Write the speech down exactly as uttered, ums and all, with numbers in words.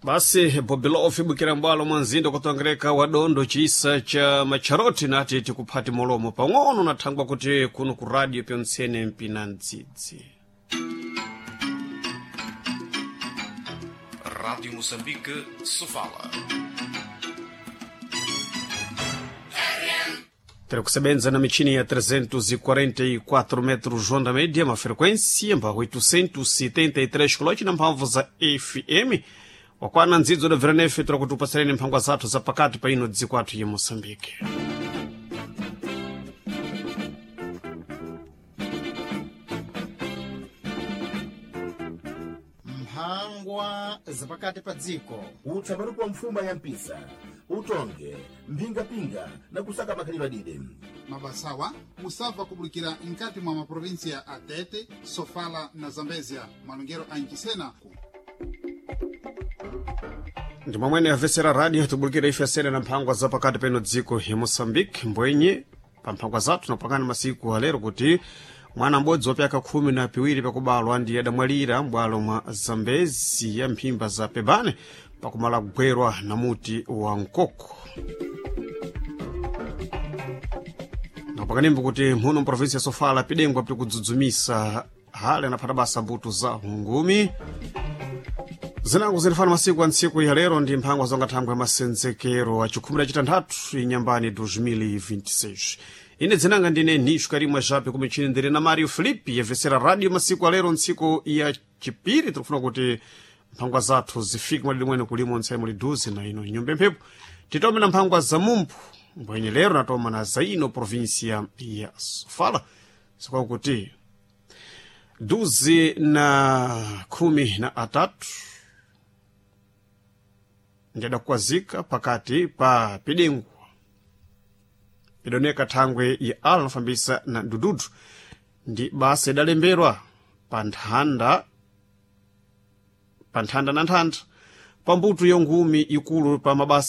Basi Bobilofi bwikira mbwalo mwa mzinda kutongereka wa dondo chisa cha macharoti nati tikuphati molomo pang'ono nathangwa kuti kuno ku radio pyontsene mpina mdzidzi. Rádio Moçambique, Sofala. Tiri kusebenza na michini ya trezentos e quarenta e quatro metros onda média, uma frequência mba oitocentos e setenta e três kHz na mphamvu za F M. Wakwana ndzidzo da Veranefe tira kuti upasireni mphangwa zathu za pakati pa ino dziko athu ya Moçambique. Mphangwa zapakati pa dziko. Utsapatu pa mfuma ya mpisa utonge mphingapinga na kusaka makhalidwe adide. Mabasawa musabva kubulikira mkati mwa maprovinsia a Tete, Sofala na Zambezia, malongero a Nchisena. Ndi momwene amvetsera radio tibulukira ife asene na mphangwa za pakati peno dziko ya Moçambique. Mbwenye pa mphangwa zathu napangana masiku alero kuti mwana m'bodzi wa pyaka khumi na piwiri pakubalwa ndiye adamwalira m'bwalo mwa Zambezi ya mphimba za Pebane pakumala kugwerwa na muti wa mkoko. Napakanimbo kuti muno mprovinsi ya Sofala pidengwa pili kudzudzumisa hale anaphata basa mbuto za ngumi zinango zilifana masiku a ntsiku ya lero ndi mphangwa zonga thangwe ya masenzekero a chikhumi na chitanthatu inyambani dois mil e vinte e seis. Ine dzinanga ndine Nisho Karimwa Jape, kumichini ndiri na Mario Filipe yevesera radio masiku alero ntsiku ya chipiri. Tikufuna kuti mphangwa zathu zifike mwalili mwene kulimo ntsai muli duze na ino nyumba mphepo titome na mphangwa za mumphu mbwenye lero natoma na za ino provinsia ya Sofala sikwakuti duze na khumi na atatu ndiadakukwazika pakati pa pidengwa pidoneka thangwe ya ala nafambisa na dududu ndi basa idalembedwa pa nthanda pa nthanda na nthanda pa mbuto yongumi ikulu pa mabasa.